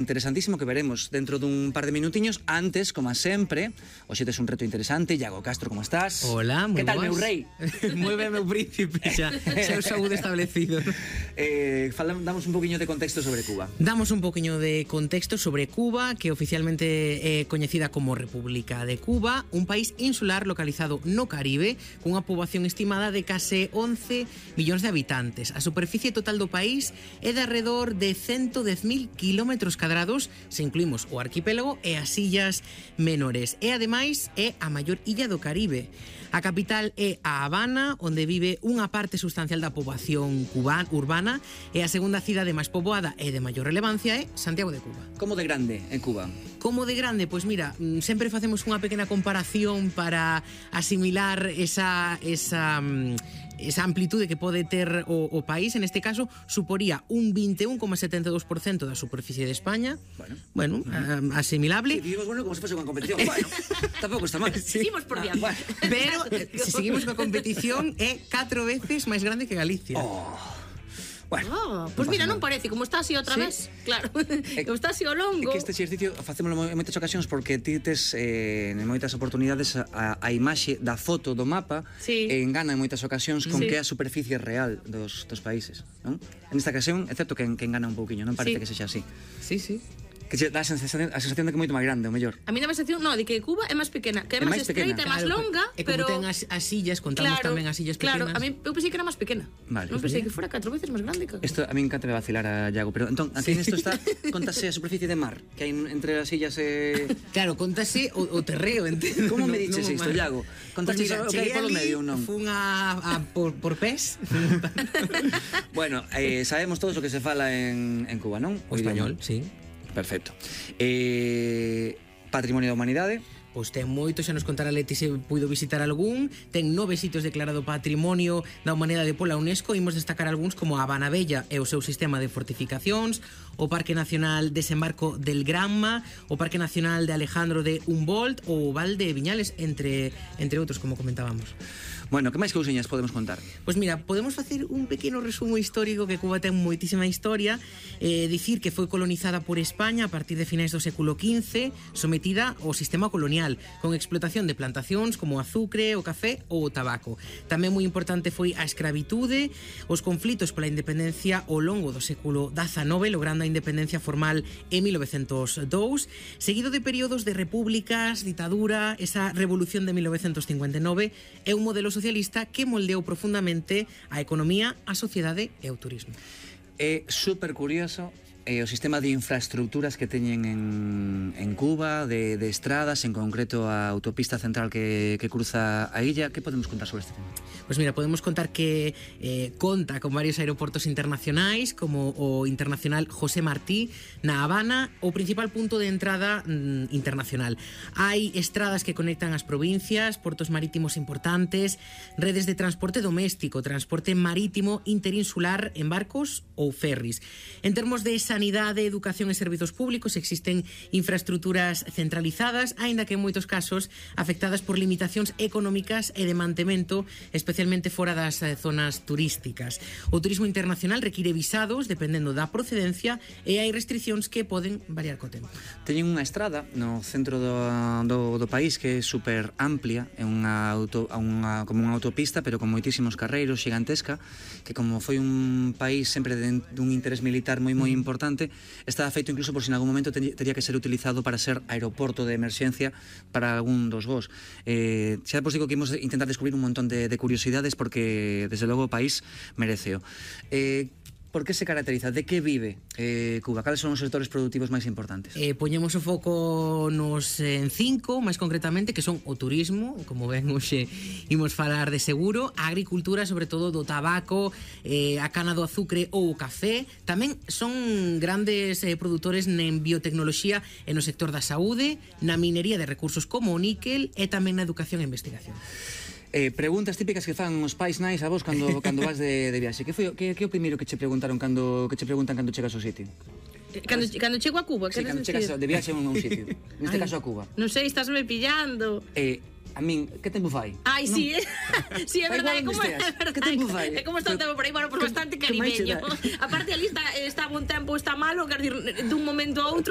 interesantísimo que veremos dentro dun par de minutiños. Antes, como sempre, hoxe tes un reto interesante. Iago Castro, como estás? Hola, moi boas. Que tal, meu rei? Moi ben, meu príncipe, xa o saúde establecido. Damos un poquinho de contexto sobre Cuba. Damos un poquinho de contexto sobre Cuba, que oficialmente é coñecida como República de Cuba, un país insular localizado no Caribe, cunha poboación estimada de case 11 millóns de habitantes. A superficie total do país é de alrededor de 110.000 kilómetros cadrados, se incluímos o arquipélago e as illas menores. E ademais é a maior illa do Caribe. A capital é a Habana, onde vive unha parte sustancial da poboación urbana, e a segunda cidade máis poboada e de maior relevancia é Santiago de Cuba. Como de grande é Cuba? Como de grande? Pois mira, sempre facemos unha pequena comparación para asimilar esa amplitude que pode ter o país. En este caso, suporía un 21,72% da superficie de España. Bueno, asimilable. Sí, digamos, bueno, como se fose unha competición. Bueno, tampouco está mal. Seguimos por diante. Pero, se seguimos coa competición, é 4 veces máis grande que Galicia. Bueno, pues mira, non parece, como está así outra vez. Claro, como está así ao longo. É que este exercicio facémolo en moitas ocasións porque ti tes en moitas oportunidades a imaxe da foto do mapa e engana en moitas ocasións con que é a superficie real dos países, non? En esta ocasión é certo que engana un pouquiño, non parece que sexa así. Sí. Que dá a sensación de que é moito máis grande, o mellor. A mí dá a sensación, de que Cuba é máis pequena, que é máis estreita, é máis longa, pero como ten as illas, contamos tamén as illas pequenas. Claro, a mí eu pensei que era máis pequena. Vale. Non pensei que fora 4 veces máis grande. Isto a mí encanta vacilar a Iago, pero entón, aquí nesto está, contase a superficie de mar que hai entre as illas e... Claro, contase o terreo, entendo. Como me dices isto, Iago? Contase o que hai polo medio, non? Fun por pés. Bueno, sabemos todos o que se fala en Cuba, non? O español, sí. Perfecto. Patrimonio da Humanidade. Pois ten moito, xa nos contará Leti se puido visitar algún. Ten 9 sitios declarado Patrimonio da Humanidade pola UNESCO. Imos destacar algúns como a Habana Bella e o seu sistema de fortificacións, o Parque Nacional Desembarco del Granma, o Parque Nacional de Alejandro de Humboldt ou o Val de Viñales, entre outros, como comentábamos. Bueno, que máis cousiñas podemos contar? Pois mira, podemos facer un pequeno resumo histórico, que Cuba ten moitísima historia. Dicir que foi colonizada por España a partir de finais do século XV, sometida ao sistema colonial, con explotación de plantacións como o azucre, o café ou o tabaco. Tamén moi importante foi a escravitude, os conflitos pola independencia ao longo do século XIX, logrando a independencia formal en 1902, seguido de períodos de repúblicas, ditadura, esa revolución de 1959 e un modelo socialista que moldeou profundamente a economía, a sociedade e o turismo. É super curioso o sistema de infraestructuras que teñen en Cuba, de estradas, en concreto a autopista central que cruza a illa. Que podemos contar sobre este tema? Pois mira, podemos contar que conta con varios aeroportos internacionais, como o Internacional José Martí na Habana, o principal punto de entrada internacional. Hai estradas que conectan as provincias, portos marítimos importantes, redes de transporte doméstico, transporte marítimo interinsular en barcos ou ferries. En termos de sanidade, educación e servizos públicos existen infraestructuras centralizadas, aínda que en moitos casos afectadas por limitacións económicas e de mantemento, especialmente fora das zonas turísticas. O turismo internacional require visados dependendo da procedencia e hai restriccións que poden variar co tempo. Teñen unha estrada no centro do país que é super amplia, é como unha autopista, pero con moitísimos carreiros, xigantesca, que como foi un país sempre dun interés militar moi importante, estaba feito incluso por si en algún momento tería que ser utilizado para ser aeroporto de emerxencia para algún dos voos. Xa vos digo que imos intentar descubrir un montón de curiosidades porque desde logo o país mereceo. Por que se caracteriza? De que vive Cuba? Cales son os sectores productivos máis importantes? Poñemos o foco en 5, máis concretamente, que son o turismo, como ven hoxe imos falar de seguro, a agricultura, sobre todo do tabaco, a cana do azucre ou o café. Tamén son grandes produtores en biotecnoloxía e no sector da saúde, na minería de recursos como o níquel e tamén na educación e investigación. Preguntas típicas que fan os pais nais a vos cando vas de viaxe. Que é o primeiro que che preguntan cando chegas ao sitio? Cando chego a Cuba, sí, cando chegas de viaxe a un sitio. Neste caso a Cuba. Non sei, estásme pillando. A min, que tempo fai? Ai, sí, sí, é Da verdade, igual como onde é esteas. verdade. Que tempo fai? É como está o tempo por aí, bueno, pues bastante que máis che caribeño. dá? Aparte, ali está bon tempo, está malo, quer dizer, dun momento a outro,